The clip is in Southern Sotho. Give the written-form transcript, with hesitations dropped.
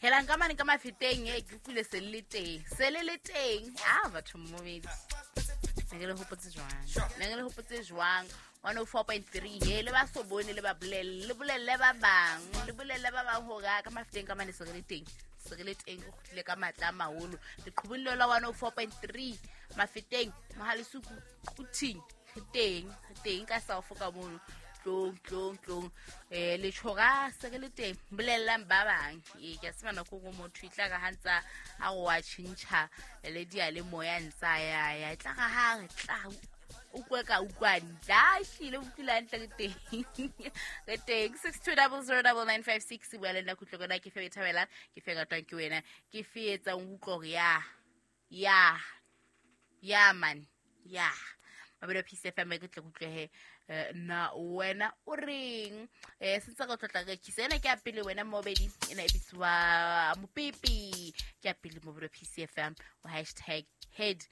Helang ka mane ka mafeteng e ke utlwile se le teng, se le le teng. A batho mmobedi, ne ke le hopotse jwang, ne ke le hopotse jwang? 104.3, he le ba so bone, le ba bolelle, le bolelle ba bang, le bolelle ba bang hore a ka mafeteng ka mane se re le teng, se re le teng. Re kgutlile ka matla a maholo leqhubung leo la 104.3 mafeteng, mohalesuku, quthing. Re teng, re teng ka south ka mono. Tlong, tlong, tlong, letjhora se re le teng. Bolellang ba bang. Ee, ke a tseba nako nngwe motho e tla re ha ntsa a re wa tjhentjha le diyalemoya, ntsa ya ya, e tla re ha re tla utlwe ka utlwane tla hlile utlwile hantle. Re teng, re teng. 62009956, bua le nna, kutlo kona ke fe e thabelang, ke fe ratwang ke wena, ke fe etsang o utlwa hore ya ya ya man ya mabelo. Peace FM, ke tle kutlwehe na wena o reng? Sentse re tlotla re kisa ena ke ya pele wena mobedi, ena e bitsiwa mopipi, ke ya pele mobedi. Peace FM, o #HeadToHead.